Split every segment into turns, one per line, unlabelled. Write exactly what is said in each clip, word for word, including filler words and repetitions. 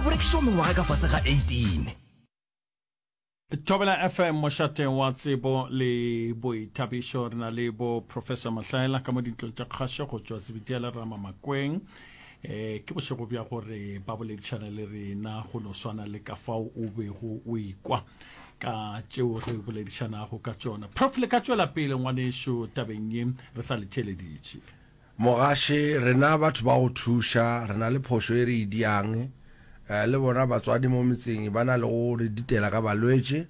Ga bo rekišwa mengwaga ka fase ga eighteen.
Thobela F M, mošate wa tsebo le boithabišo. Re na le bo Professor Mahlaela ka mo dintlong tša kgašo go tšwa Zebediela Ramamakweng. Eh, ke bošego bja gore ba boledišana le rena go no swana le ka fao o bego o ikwa ka tšeo re boledišanago ka tšona. Prof, le ka tšwela pele ngwanešo tabeng ye re sa le theeleditše.
Mogaši, rena batho ba go thuša, re na le phošo e re e diang. Eh, le bona batswadi mo metseng ba na le go re ditela ka balwetši.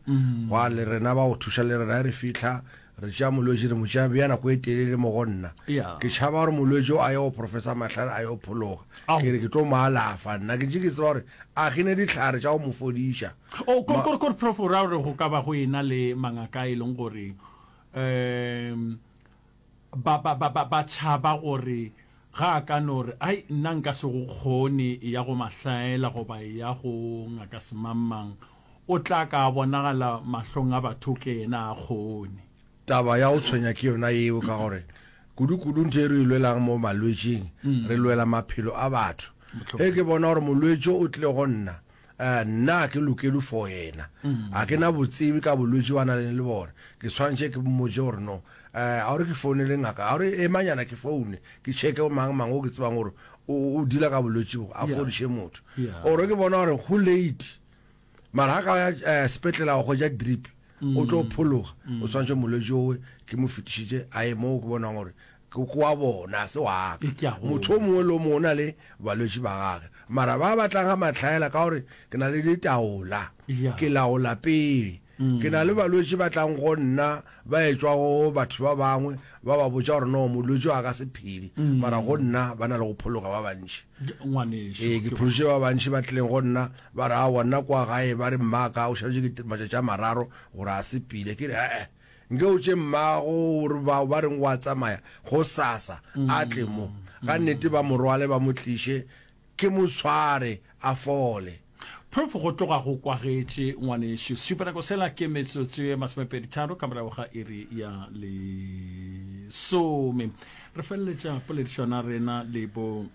Gwa le rena ba go thuša, le rena re fihla re tšea molwetši, re mo tšea bea nako e telele mo go nna.
Yeah.
Ke tšhaba gore molwetši o a ye go Professor Mahlale a yo phologa.
Ao.
Ke re ke tlo mo alafa nna, ke ntše ke tseba gore a ke ne dihlare tša go mo fodiša.
O kore kore kore prof, o ra gore go ka ba go ena le mangaka e leng gore um ba ba ba ba ba tšhaba gore ga a ka no re ai nna nka se go kgone ya go Mahlaela goba ya go ngaka semangmang, o tla ka bonagala mahlong a batho ke yena a kgone.
Taba ya go tshwenya ke yona yeo, ka gore kudu-kudu ntho e re e lwelang mo malwetšing, re lwela maphelo a batho. Ge ke bona gore molwetši o tlile go nna, eh, nna ke lokelwe for yena, a ke na botsebi ka bolwetši ba na leng le bona, ke tshwanetse ke mmotse gore no, eh, a gore ke founele ngaka, a gore emanyana ke foune ke checke mang mang o ke tsebang gore o o deala ka bolwetši bo, a
Yeah.
fodiše motho.
Yeah.
Ore ke bona gore go late, mara ga ka ya eh, sepetlele a go hwetša drip, o tlo phologa, o tshwanetse molwetši owe ke mo fetišitše a ye moo ke bonang gore ke ke wa bona, se wa ka.
E ke a go-
Motho o mongwe le o mongwe o na le balwetši ba gage, mara ba batlang ga Mahlaela, ka gore ke na le ditaola,
Yeah.
ke laola pele. Ke na le balwetši ba tlang go nna ba etšwa go batho ba bangwe, ba ba botša gore no, molwetši wa ka se phele, mara go nna ba na le go phologa ba bantši.
Ngwanešu.
Ee, ke phološitše ba bantši ba tlileng go nna ba re aowa, nna kwa gae ba re mmaka o šaletše ke matšatši a mararo gore a sepele. Ke re ee, nke o tše mmago gore bao ba reng wa tsamaya go sasa a tle mo ga nnete, ba mo rwale ba mo tliše, ke mo tshware a fole.
Prof, go tloga go kwagetše ngwanešu. Sepenako sela ke metsotso ye masomepedi tharo ka morago ga iri ya lesome. Re feleletša poledišana rena le bo,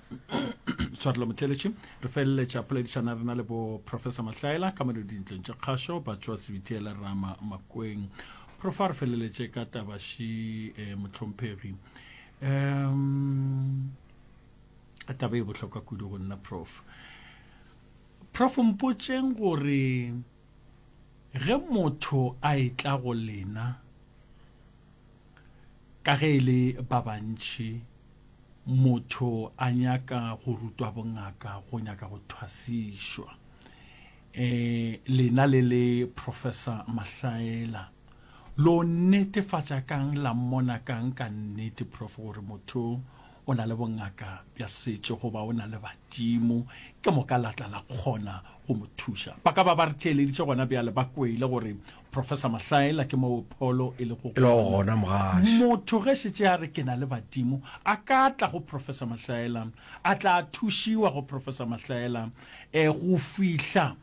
tshwarelo motheletši, re feleletša poledišana rena le bo Professor Mahlaela ka mo dintlong tša kgašo ba tšwa Sebitiela Rama Makweng. Prof, a re feleletše ka tabaši eh, mohlomphegi. Um taba e bohlokwa kudu go nna, prof. Prof, mpotšeng gore ge motho a etla go lena, ka ge e le ba bantši, motho a nyaka go rutwa bongaka, go nyaka go thwasišwa, eh lena le le Professor Mahlaela lo netefatša kang, la mmona kang ka nnete, prof, gore motho o na le bongaka bja setšo goba o na le badimo, ke moka la tla la kgona go mo thuša? Ba ka ba ba re theeleditše gona bjale, ba kwele gore Professor Mahlaela ke moo pholo e lego
e le gona, mogaši.
Motho ge šetše a re ke na le badimo, a ka tla go Professor Mahlaela, a tla thušiwa go Professor Mahlaela um go fihla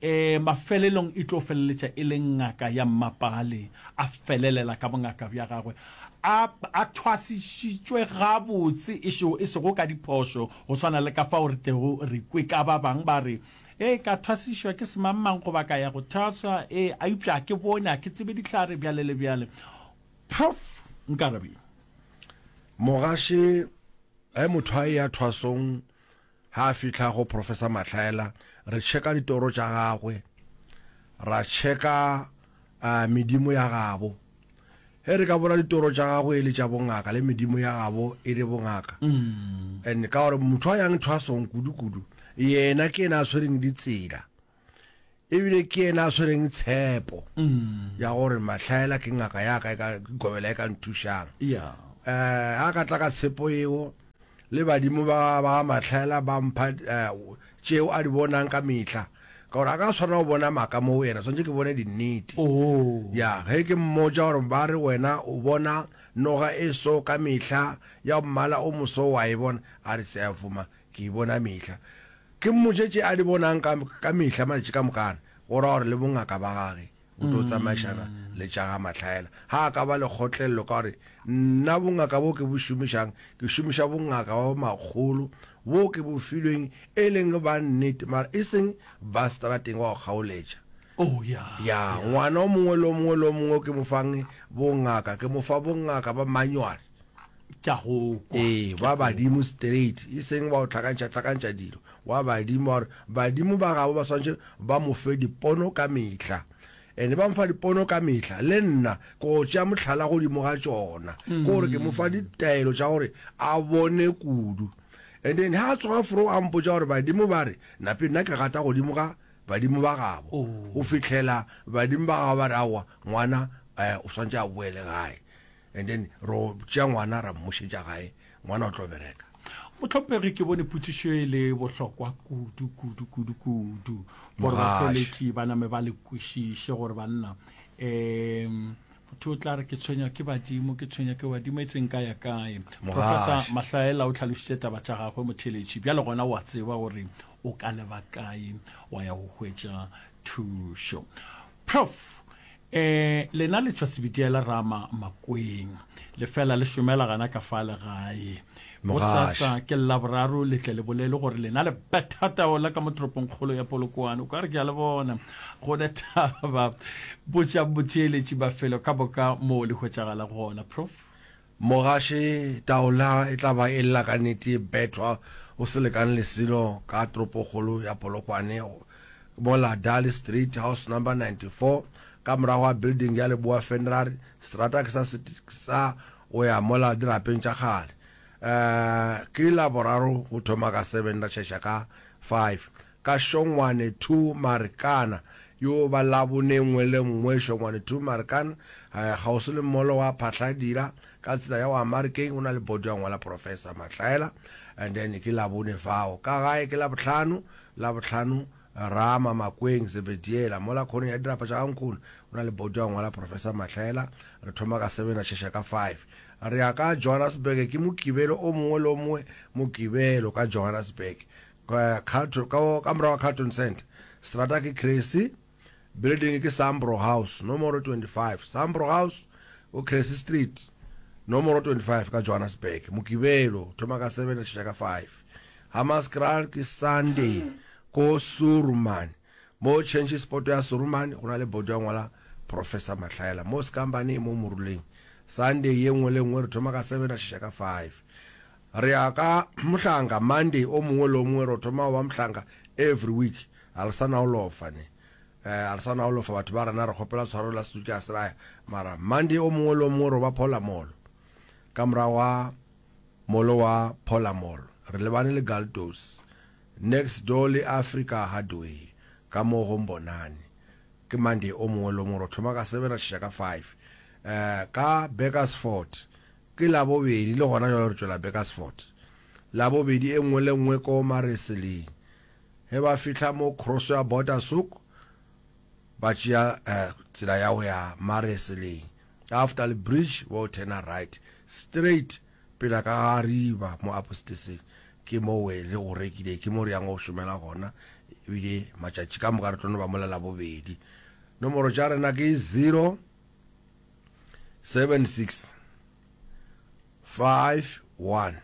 um mafelelong e tlo feleletša e le ngaka ya mmapale, a felelela ka bongaka bja gagwe a a thwasišitšwe gabotse, e sego e sego ka diphošo, go swana le ka fao re tlego re kwe ka ba bang ba re ee, ka thwasišwa ke semangmang goba ka ya go thwaswa, ee, a eupša a ke bone, a ke tsebe dihlare, bjale le bjale. Prof, nkarabeng.
Mogaši, ge motho a eya thwasong, ga a fihla go Professor Mahlaela, re checka ditoro tša gagwe, ra checka uh, medimo ya gabo. Ge re ka bona ditoro tša gagwe e le tša bongaka le medimo ya gabo e le bongaka, and ka gore motho a yang thwasong kudu-kudu yena ke yena a tshwereng ditsela, ebile ke yena a tshwereng tshepo ya gore Mahlaela ke ngaka ya ka, e ka gobela, e ka nthušang.
Ya
um a ka tla ka tshepo eo le badimo ba ba Mahlaela, ba mpha eh, tšeo a di bonang ka mehla, ka gore a ka tshwana go bona maaka mo yena, tshwanetse ke bone dinnete.
Oh
ya ge ke mmotša gore ba re wena o bona noga e so ka mehla ya mmala o moso, wa e bona, a re seafoma ke e bona mehla, ke mmotše tše a di bonang ka, ka mehla matšatši ka mokana, go ra gore le bongaka ba gage bo tlo tsamaišana le tša ga Mahlaela. Ga a ka ba le kgotlelelo, ka gore nna bongaka bo ke bo šomišang, ke šomiša bongaka ba makgolo bo ke bo filweng e leng ba nnete, mara e seng ba strateng wa go kgaoletša.
Oh, ya.
Ya, ngwana o mongwe le o mongwe le o mongwe ke mo fang bongaka, ke mo fa bongaka ba manual.
Ke a go kwa.
Ee, ba badimo straight, e seng ba go hlakantšha-hlakantšha dilo. Wa badimo, ba gore badimo ba gabo ba swanetše ba mo fe dipono ka mehla. Ene ba mfa dipono ka mehla, le nna ke go tšea mohlala godimo ga tšona. Ke gore ke mo fa ditaelo tša gore a bone kudu. And then ha a tsoga fro a mpotša gore badimo ba re, nape nna ke gata godimo ga badimo ba gabo. Go fihlela badimo ba gabo ba re aowa, ngwana eh, o swanetše a boele gae. And then ro tšea ngwana ra mmušetša gae, ngwana o tlo bereka.
Mohlomphegi, ke bone potšišo e le bohlokwa kudu, kudu, kudu, kudu, gore
Mogaši.
batheeletši ba name ba le kwešiše gore banna, um motho o tla re ke tshwenywa ke badimo, ke tshwenywa ke badimo, e tseng ka ya kae. Professor
Mogaši.
Mahlaela o hlalošitše taba tša gagwe, motheeletši, bjale gona o a tseba gore o ka leba kae wa ya go hwetša thušo. Prof, eh, lena le tšwa Sebitiela Rama Makweng, le fela le šomela gana ka fa legae.
Mogaši.
Bosasa ke Laboraro, le tle le bolele gore lena le betha taola ka mo toropongkgolo ya Polokwane. O ka re ke a le bona go ne taba. Botša motheeletši mafelo ka moka moo le hwetšagala gona, Prof.
Mogaši, taola e tla ba e lla ka nnete, e bethwa go se lekane le selo ka toropokgolo ya Polokwane, mola Dali Street, house number ninety-four, ka morago ga building ya Leboa Funeral, seterata ke sa sa go ya mola dirapeng tša kgale. Eh, ke Laboraro go thoma ka seven ra tšhaša ka five. Ka Šongwane two Marikana, yo ba Labone nngwe le nngwe Šongwane two Marikana, eh, kgauswi le molo wa Phatlhadira, ka tsela ya go ya Marikeng, go na le boto ya ngwala Professor Mahlaela, and then ke Labone fao. Ka gae ke Labohlano, Labohlano Rama Makweng Zebediela, mola khoneng ya dirapa tša ga nkgono, go na le boto ya ngwala Professor Mahlaela, re thoma ka seven ra tšhaša ka five. Re ya ka Johannesburg, ke Mokibelo o mongwe le o mongwe Mokibelo ka Johannesburg, ka, Carlton, ka, ka morago ga Carlton Center. Strata ke Cressy, building ke Sambro House, nomoro twenty-five. Sambro House, o Cressy Street, nomoro twenty-five ka Johannesburg. Mokibelo, thoma ka seven ra tšhaša ka five. Hammanskraal ke Sunday, ko Surumane. Mo change spot ya Surumane, go na le boto ya ngwala Professor Mahlaela. Mo Skambane, mo Moruleng. Sunday ye nngwe le nngwe re thoma ka seven ra tšhaša ka five. Re ya ka Mohlanka Monday o mongwe le o mongwe re thoma go ba Mohlanka every week. A re sa na go lofa ne. Eh, a re sa na go lofa batho ba rena, re kgopela tshwarelo la setuke a se raya. Mara Monday o mongwe le o mongwe re ba Phola Mall. Ka morago ga molo wa Phola Mall, re lebane le Galtos. Next door le Africa Hardware, ka mo go Mbonane. Ke Monday o mongwe le o mongwe re thoma ka seven ra tšhaša ka five. Eh, ka Burgersfort ke Labobedi, le gona jwale re tšwela Burgersfort. Labobedi e nngwe le nngwe ko Mareseleng. Ge ba fihla mo cross ya Border Souk, ba tšea eh, tsela ya go ya Mareseleng. After the bridge, ba o turna right, straight pela ka ga riba mo Apostaseng. Ke mo we re go rekile, ke mo re yang go šomela gona. Ebile matšatši ka moka re tlo no ba mola Labobedi. Nomoro tša rena ke zero seven six five one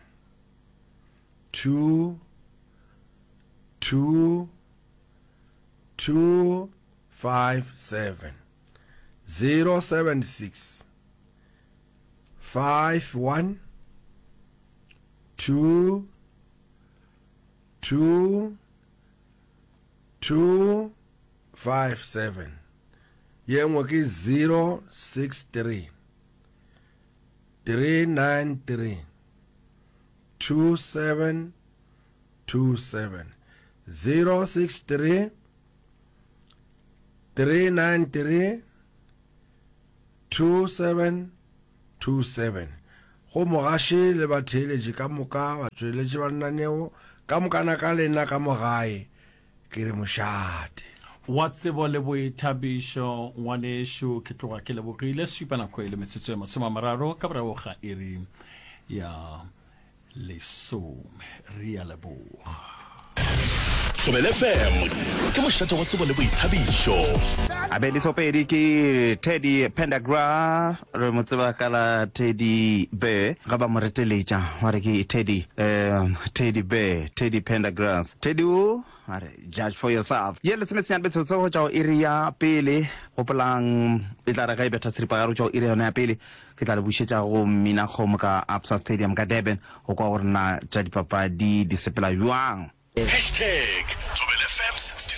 two two two five seven. Zero seven six five one two two two five seven. Ye nngwe ke zero six three three nine three two seven two seven. Zero six three three nine three two seven two seven. Go mogaši le batheeletši ka moka, batšweletši ba lenaneo ka mokana ka lena ka mo gae, ke re mošate.
Wa tsebo le boithabišo, ngwanešu, ke tloga ke lebogile. Supa nako e le metsotso e masome a mararo ka morago ga iri ya lesome. Re a leboga.
Thobela F M ke mošate wa tsebo le boithabišo.
Abedi Sopedi ke Teddy Pendergrass, re mo tseba ka la Teddy Bear, ga ba mo reteletša ba re ke Teddy, um Teddy Bear, Teddy Pendergrass. Teddy o a re judge for yourself. Ye lesomesenyane metsotso go tšwa go iri ya pele, gopolang e tla re ge e betha seripagare go tšwa go iri yona ya pele, ke tla le bušetša go Mmina Kgomo ka Absa Stadium ka Durban go kwa gore na tša dipapadi di sepela bjang.
Hashtag Thobela F M sixty